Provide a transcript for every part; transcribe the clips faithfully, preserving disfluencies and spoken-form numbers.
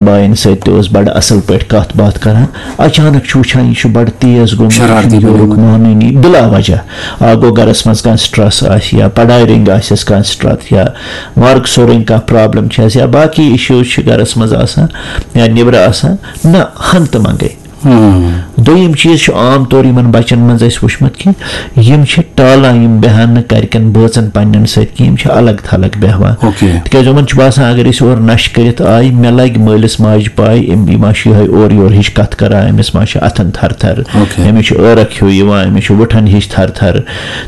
آیَن سۭتۍ تہِ اوس بَڑٕ اَصٕل پٲٹھۍ کَتھ باتھ کَران۔ اچانک چھُ وٕچھان، یہِ چھُ بَڑٕ تیز گوٚمُت، یہِ چھُنہٕ شرارتی یورُک بنیومُت۔ مانٲنی، بِلا وجہ۔ اَکھ گوٚو گَرَس منٛز کانٛہہ stress آسہِ یا پڑھاے رٔنٛگۍ آسٮ۪س کانٛہہ stress یا مارکسو رٔنٛگۍ کانٛہہ problem چھِ آسہِ یا باقٕے issues چھِ گَرَس منٛز آسان یا نیٚبرٕ آسان، نہ، ہَن تہٕ منٛگَے۔ ہم۔ دوٚیِم چیٖز چھُ عام طور یِمَن بَچَن منٛز اَسہِ وٕچھمُت کہِ یِم چھِ ٹالان یِم بیٚہَن نہٕ گَرِکٮ۪ن بٲژَن پنٛنٮ۪ن سۭتۍ کینٛہہ، یِم چھِ الگ تھلگ بیٚہوان۔ اوکے۔ تِکیٛازِ یِمَن چھُ باسان، اگر أسۍ اورٕ نَشہٕ کٔرِتھ آے، مےٚ لَگہِ مٲلِس ماجہِ پَے، أمۍ، یہِ ما چھُ یِہوٚے اورٕ یورٕ ہِش کَتھ کَران، أمِس ما چھِ اَتھَن تھَر تھَر، اوکے۔ أمِس چھُ عٲرَق ہیوٗ یِوان، أمِس چھُ وٕٹھَن ہِش تھَر تھَر۔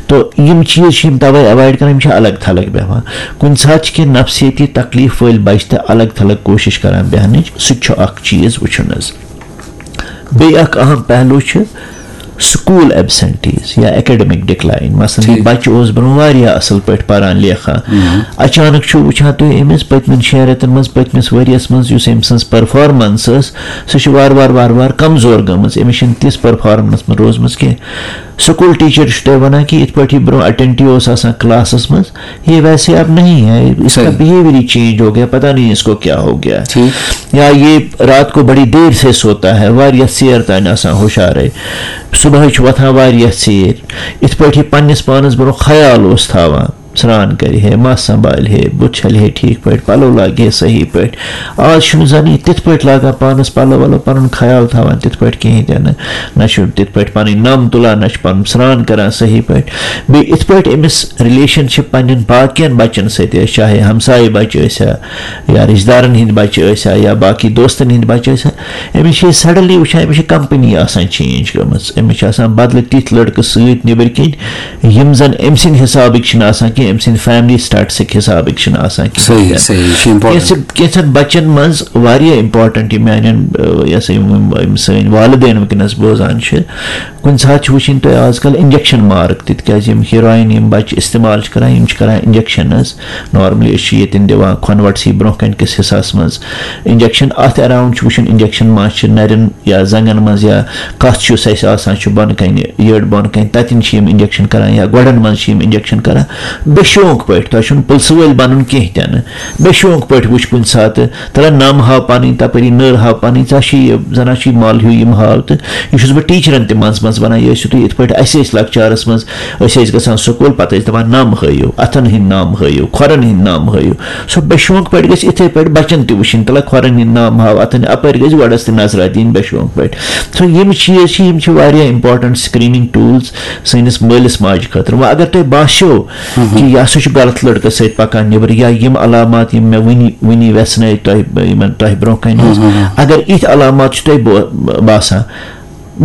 تو یِم چیٖز چھِ یِم تَوَے avoid کَران، یِم چھِ الگ تھلگ بیٚہوان۔ کُنہِ ساتہٕ چھِ کینٛہہ نفسیٲتی تکلیٖف وٲلۍ بَچہِ تہِ الگ تھلگ کوٗشِش کَران بیٚہنٕچ، سُہ تہِ چھُ اَکھ چیٖز وٕچھُن حظ۔ بیٚیہِ اَکھ اَہَم پہلو چھُ school absentees یا academic decline۔ مثلاً، یہِ ٹھیٖک۔ بَچہٕ اوس برٛونٛہہ واریاہ اَصٕل پٲٹھۍ پَران لیکھان۔ مم۔ اچانک چھُ وٕچھان تُہۍ أمِس پٔتمٮ۪ن شٮ۪ن رٮ۪تَن منٛز، پٔتمِس ؤریَس منٛز یُس أمۍ سٕنٛز performance ٲس، سُہ چھُ وارٕ وارٕ، وارٕ وارٕ کمزور گٔمٕژ۔ أمِس چھِنہٕ تِژھ performance منٛز روٗزمٕژ کینٛہہ۔ school teacher چھُ تۄہہِ وَنان کہِ یِتھ پٲٹھۍ یہِ برٛونٛہہ attentive اوس آسان classس منٛز، یہ ویسے اب نہیں ہے، اس کا صحیح۔ behaviour ہی change ہو گیا، پتہ نہیں اس کو کیا ہو گیا۔ ٹھیٖک۔ یا یہ رات کو بڑی دیر سے سوتا ہے، واریاہ ژیر تام آسان ہُشارے، صبحٲے چھُ وۄتھان واریاہ ژیٖرۍ۔ یِتھ پٲٹھۍ یہِ پننِس پانس برونٛہہ خیال اوس تھاوان، سرٛان کرِ ہے، مَس سنبھالہِ ہے، بُتھ چھلہِ ہے ٹھیٖک پٲٹھۍ، پلو لاگہِ ہے صحیح پٲٹھۍ۔ آز چھُنہٕ زن یہِ تِتھ پٲٹھۍ لاگان پانس پلو ولو، پنُن خیال تھاوان تِتھ پٲٹھۍ کِہیٖنۍ تہِ نہٕ۔ نہ چھُ تِتھ پٲٹھۍ پنٕنۍ نَم تُلان، نہ چھُ پَنُن سرٛان کران صحیح پٲٹھۍ۔ بیٚیہِ یِتھ پٲٹھۍ أمِس relationship پننٮ۪ن باقین بچن سۭتۍ ٲسۍ، چاہے ہمسایہِ بچہِ ٲسۍ ہا یا رشتہٕ دارن ہٕنٛدۍ بچہِ ٲسۍ ہا یا باقی دوستن ہٕنٛدۍ بچہِ ٲسۍ ہا، أمِس چھِ أسۍ suddenly وٕچھان، أمِس چھِ company آسان change گٔمٕژ، أمِس چھِ آسان بدلہٕ تِتھۍ لڑکہٕ سۭتۍ نیٚبٕرۍ کِنۍ، یِم زن أمۍ سٕنٛدِ حسابٕکۍ چھِنہٕ آسان کینٛہہ، أمۍ سٕنٛدِ family statusٕکۍ حسابٕکۍ چھِنہٕ آسان کینٛہہ۔ صحیح، صحیح، یہِ چھُ important۔ کینٛژھن، کینٛژھن بچن منٛز واریاہ important، یہِ میانٮ۪ن، آ، یہِ ہسا یِم، یِم، یِم سٲنۍ والدین وٕنکیٚنس بوزان چھِ، کُنہِ ساتہٕ چھِ وٕچھِنۍ تۄہہِ آز کل injection mark تہِ، تِکیٛازِ یِم heroin یِم بچہِ استعمال چھِ کران، یِم چھِ کران injection حظ۔ normally أسۍ چھِ ییٚتٮ۪ن دِوان کھۄنوَٹ سی برونٛہہ کَنہِ کِس حصس منٛز injection۔ اَتھ around چھُ وٕچھُن injection ما چھِ نَرٮ۪ن یا زنٛگن منٛز یا کَتھ چھُس اَسہِ آسان چھُ بۄنہٕ کَنہِ، یٔڈ بۄنہٕ کَنہِ، تَتٮ۪ن چھِ یِم injection کران یا گۄڈَن منٛز چھِ یِم injection کران۔ بے شوق پٲٹھۍ، تۄہہِ چھُنہٕ پُلسہٕ وٲلۍ بَنُن کینٛہہ تہِ نہٕ۔ بے شوق پٲٹھۍ وٕچھ کُنہِ ساتہٕ، تَلہ نَم ہاو پَنٕنۍ، تَپٲری نٔر ہاو پَنٕنۍ، ژےٚ چھِ یہِ زَنان چھِ یہِ مَل ہیوٗ یِم ہاو۔ تہٕ یہِ چھُس بہٕ ٹیٖچرَن تہِ منٛزٕ منٛزٕ وَنان، یہِ ٲسِو تُہۍ یِتھ پٲٹھۍ، اَسہِ ٲسۍ لۄکچارَس منٛز، أسۍ ٲسۍ گژھان سکوٗل، پَتہٕ ٲسۍ دَپان نَم ہٲیِو، اَتھَن ہٕنٛدۍ نَم ہٲیِو، کھۄرَن ہٕنٛدۍ نَم ہٲیِو۔ سُہ بے شوق پٲٹھۍ گژھِ یِتھَے پٲٹھۍ بَچَن تہِ وٕچھِنۍ، تَلہ کھۄرَن ہِنٛدۍ نَم ہاو، اَتھَن اَپٲرۍ گژھِ گۄڈَس تہِ نظرا دِنۍ بے شوق پٲٹھۍ۔ سو یِم چیٖز چھِ، یِم چھِ واریاہ important screening tools سٲنِس مٲلِس ماجہِ خٲطرٕ۔ وۄنۍ اگر تۄہہِ باسیو کہِ یہِ ہسا چھُ غلط لڑکس سۭتۍ پکان نیبر، یا یِم علامات یِم مےٚ وٕنی، وٕنی ویژھنٲے تۄہہِ، یِمن تۄہہِ برونٛہہ کنہِ ٲسۍ، اگر یِتھۍ علامات چھِ تۄہہِ بو-، باسان،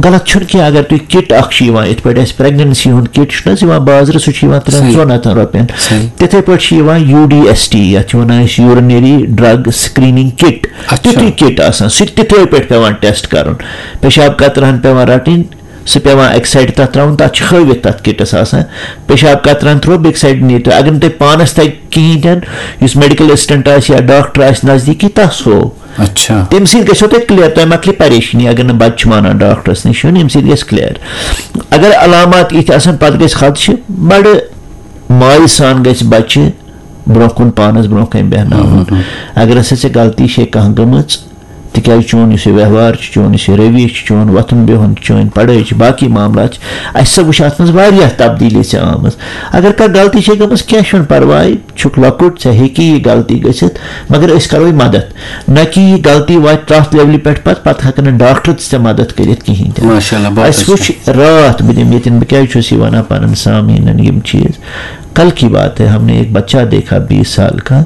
غلط چھُنہٕ کینٛہہ۔ اگر تُہۍ کِٹ اکھ چھُ یِوان، یِتھ پٲٹھۍ اَسہِ pregnancy ہُنٛد کِٹ چھُنہٕ حظ یِوان بازرٕ، سُہ چھُ یِوان ترٛٮ۪ن صحیح۔ ژۄن ہتن رۄپین۔ صحیح۔ تِتھے پٲٹھۍ چھِ یِوان U D S T، یَتھ چھِ وَنان أسۍ urinary drug screening kit۔ اچھا۔ تیُتھُے کِٹ آسان، سُہ تہِ تِتھے پٲٹھۍ پٮ۪وان ٹیسٹ کرُن۔ پیشاب قطرہن پٮ۪وان رَٹٕنۍ، سُہ پٮ۪وان اَکہِ سایڈٕ تَتھ ترٛاوُن، تَتھ چھِ ہٲوِتھ تَتھ کِٹَس آسان۔ پیشاب قطرَن ترٛوو، بیٚکہِ سایڈٕ نیٖرِو۔ اگر نہٕ تۄہہِ پانَس تَگہِ کِہیٖنۍ تہِ نہٕ، یُس میڈیکل اسسٹنٹ آسہِ یا ڈاکٹر آسہِ نزدیٖکی، تَس ہوو۔ اچھا۔ تَمہِ سۭتۍ گژھیو تۄہہِ کلیئر، تۄہہِ مۄکلہِ پریشٲنی۔ اگر نہٕ بَچہٕ چھُ مانان ڈاکٹرَس نِش یُن، اَمہِ سۭتۍ گژھِ کلیئر۔ اگر علامات یِتھۍ آسَن، پَتہٕ گژھِ خدشہِ، بَڑٕ مایہِ سان گژھِ بَچہٕ برونٛہہ کُن پانَس برونٛہہ کَنہِ بیٚہناوُن۔ اگر ہسا ژےٚ غلطی چھے کانٛہہ گٔمٕژ، تِکیٛازِ چون یُس یہِ ویوہار چھُ، چون یُس یہِ رویہ چھُ، چون وۄتھُن بِہُن چھُ، چٲنۍ پڑھٲے چھِ، باقٕے معاملات چھِ، اَسہِ ہسا وٕچھ اَتھ منٛز واریاہ تبدیٖلی چھِ آمٕژ۔ اگر کانٛہہ غلطی چھے گٔمٕژ، کینٛہہ چھُنہٕ پرواے، چھُکھ لۄکُٹ، ژےٚ ہیٚکی یہِ غلطی گٔژھِتھ، مگر أسۍ کَروے مدد، نہ کہِ یہِ غلطی واتہِ تَتھ لیولہِ پٮ۪ٹھ پَتہٕ، پَتہٕ ہٮ۪کَن نہٕ ڈاکٹر تہِ ژےٚ مدد کٔرِتھ کِہیٖنۍ تہِ نہٕ۔ ماشاءاللہ، بہت اَسہِ اچھا۔ وٕچھ راتھ، بہٕ دِمہٕ ییٚتٮ۪ن، بہٕ کیٛازِ چھُس یہِ وَنان پَنُن سامعیٖنَن یِم چیٖز، کل کی بات ہے، ہم نے ایک بچہ دیکھا بیس سال کا،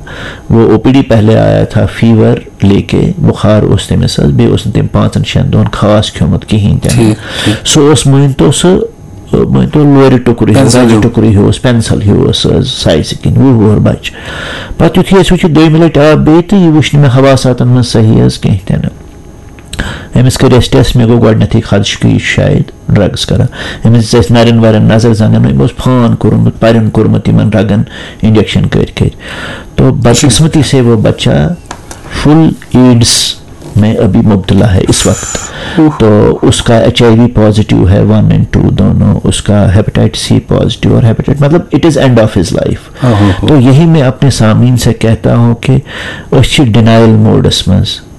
وہ او پی ڈی پہلے آیا تھا فیور لے کے، بخار اوس تٔمِس حظ، بیٚیہِ اوس نہٕ تٔمۍ پانٛژن شٮ۪ن دۄہن خاص کھیوٚمُت کِہیٖنۍ تہِ نہٕ۔ ٹھیٖک، ٹھیٖک۔ سُہ اوس، مٲنۍ تو، سُہ، مٲنۍ تو، لورِ ٹُکرٕ ہیوٗ، پینسل رَزِ ہیوٗ۔ ٹُکرٕ ہیوٗ اوس، پینسل ہیوٗ اوس حظ سایزِ کِنۍ، وُہ وُہُر بچہٕ۔ پتہٕ یُتھُے اَسہِ وٕچھ یہِ دوٚیمہِ لٹہِ آو بیٚیہِ، تہٕ یہِ وٕچھ نہٕ مےٚ حواساتن منٛز صحیح حظ کینٛہہ تہِ نہٕ۔ أمِس کٔرۍ اَسہِ ٹیسٹ، مےٚ گوٚو گۄڈٕنٮ۪تھٕے خدشہِ کہِ یہِ چھُ شاید ڈرگس کران۔ أمِس دِژ اَسہِ نَرٮ۪ن وَرٮ۪ن نظر، زَنگن، أمۍ اوس فان کوٚرمُت، پَرٮ۪ن کوٚرمُت یِمن رگن انجیکشن کٔرۍ کٔرۍ۔ تو بدقسمتی سے وہ بچہ فل ایڈز میں ابھی مبتلا ہے اس وقت۔ تو اس کا ایچ آئی وی پازیٹیو ہے ون اینڈ ٹو دونوں، اس کا ہیپاٹائٹس سی پازیٹیو اور ہیپاٹائٹ، مطلب، it is end of his life۔ تو یہی میں اپنے سامعین سے کہتا ہوں کہ أسۍ چھِ ڈینائل موڈس منٛز۔